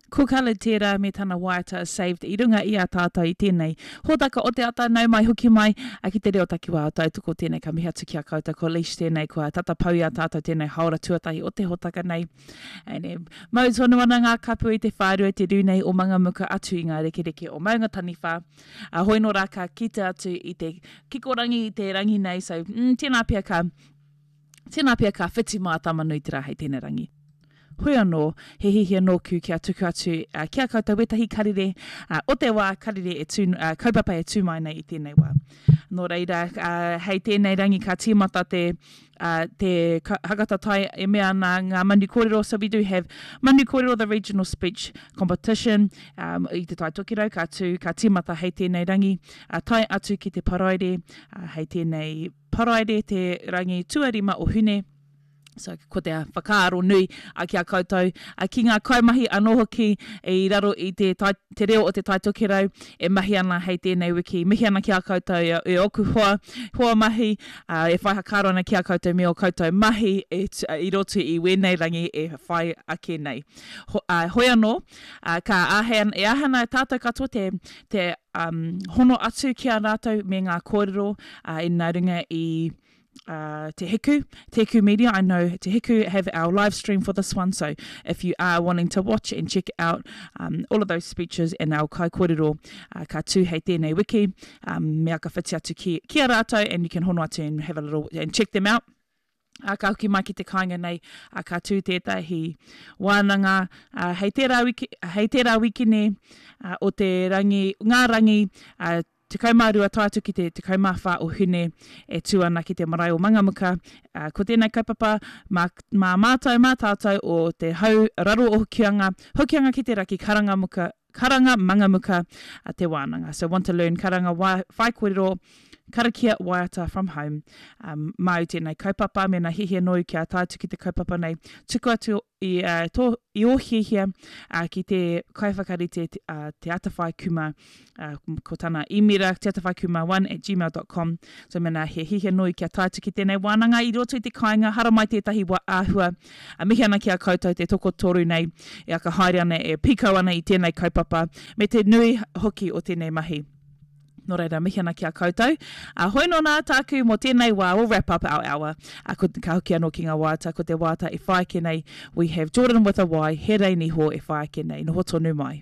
Ko Khalid tērā me tana waiata Saved i runga i a tātou i tēnei hōtaka o te ata, nau mai hoki mai ki te reo takiwā o Tautoko tēnei ka mihi atu ki a koutou ko Leash tēnei kua tata pau i a tātou tēnei haora tuatahi o te hōtaka nei. Ene, mau tonu ana ngā kapu i te whārua te rū nei o Mangamuka atu i ngā rekereke o Maunga Taniwha. A hoi nō rā ka kite atu i te kikorangi i te rangi nei, so mm, tēnā pea ka, tēnā pea ka whiti mā Tama-nui-te-rā hei tēnei rangi. Hoi anō, he hiahia nōku kia tuku atu ki a koutou wētahi karere o te wā, karere e tū, kaupapa e tū mai nei i tēnei wā. Nō reira, hei tēnei rangi ka tīmata te, te hakatatai e mea ana ngā manu kōrero, so we do have Manu Kōrero, the regional speech competition, um, i Te Tai Tokerau, ka tū, ka tīmata hei tēnei rangi, tae atu ki te Paraire, hei tēnei Paraire te rangi tuarima o Hune, So, ko te whakaaro nui ki a koutou, ki ngā kaimahi anō hoki i raro i te, tai, te reo o Te Tai Tokerau e mahi ana hei tēnei wiki. Mihi ana ki a koutou e, e ōku hoa, hoa mahi, e whai hakaaro ana ki a koutou me ō koutou mahi e, i roto i wēnei rangi e whai ake nei. Ho, uh, hoi anō, uh, ka āhei, e āhei ana tātou katoa te, te um, hono atu ki a rātou me ngā kōrero uh, i nā runga i uh, Te Hiku, Te Hiku Media. I know Te Hiku have our live stream for this one, so if you are wanting to watch and check out um, all of those speeches and our kaikōrero, uh, ka tū hei tēnei wiki, um, me aka whiti atu ki, ki a rātou and you can hono atu and have a little, and check them out. A, ka hoki mai ki te kāinga nei, a, ka tū tētahi wānanga a, hei tērā wiki, hei tērā wikine a, o te rangi, ngā rangi a, 12 tae atu ki te 14 o Hune e tū ana ki te marae o Mangamuka. Ā, ko tēnei kaupapa mā, mā mātou, mā tātou o te hau raro o Hokianga, Hokianga ki te raki karanga muka, karanga Mangamuka a te wānanga. So want to learn karanga wai, whaikōrero, karakia, waiata from home. Ā, māu tēnei kaupapa, mēnā hiahia nōu kia tae atu ki te kaupapa nei, tuku atu i, ā, tō, i ō hiahia, ā, ki te kaiwhakarite, ā, Te Atawhai Kumar, ā, ko tana īmera, teatawhaikumar1 at gmail dot com. So mēnā he hiahia nōu kia tae atu ki tēnei wānanga i roto i te kāinga, haramai tētahi wā āhua, ā, mihi ana ki a koutou te tokotoru nei e aka haere ana, e pīkau ana i tēnei kaupapa, me te nui hoki o tēnei mahi. Nō reira, mihi ana ki a koutou. Ā, hoi nō nā tāku mō tēnei wā, we'll wrap up our hour. Ā, ko, ka hoki anō ki ngā waiata, ko te waiata e whai ake nei, we have Jordan with a Y, he rei niho e whai ake nei, noho tonu mai.